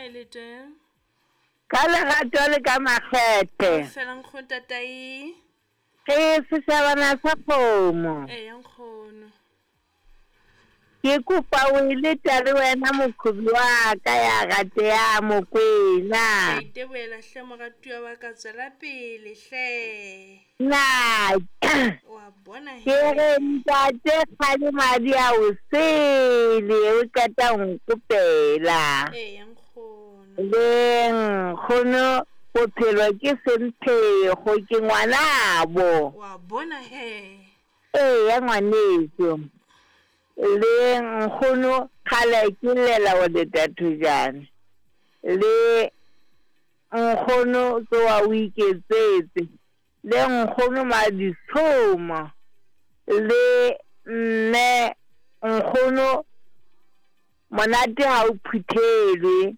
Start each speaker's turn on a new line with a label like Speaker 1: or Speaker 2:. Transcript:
Speaker 1: Lete.
Speaker 2: Ka lerato le ka makgethe.
Speaker 1: Fela nkgono tatai.
Speaker 2: Re seshabana sa kgomo.
Speaker 1: Eya nkgono.
Speaker 2: Ke kopa o e leta le wena mokhobi wa ka ya rateha Mokwena.
Speaker 1: Ke itebohela hle moratuwa wa ka tswela pele hle.
Speaker 2: Na
Speaker 1: Wa bona
Speaker 2: ke re ntate kgale madi a o sele o qeta ho nkopela.
Speaker 1: Eya nkgono.
Speaker 2: Le nkgono bophelo ke semphego ke ngwanabo.
Speaker 1: Wa bona he.
Speaker 2: Eya ngwaneso. Le nkgono kgale ke llela go leta thojane. Le nkgono tsoa o iketsetse. Le nkgono maditshomo. Le mme nkgono monate ha o phuthelwe.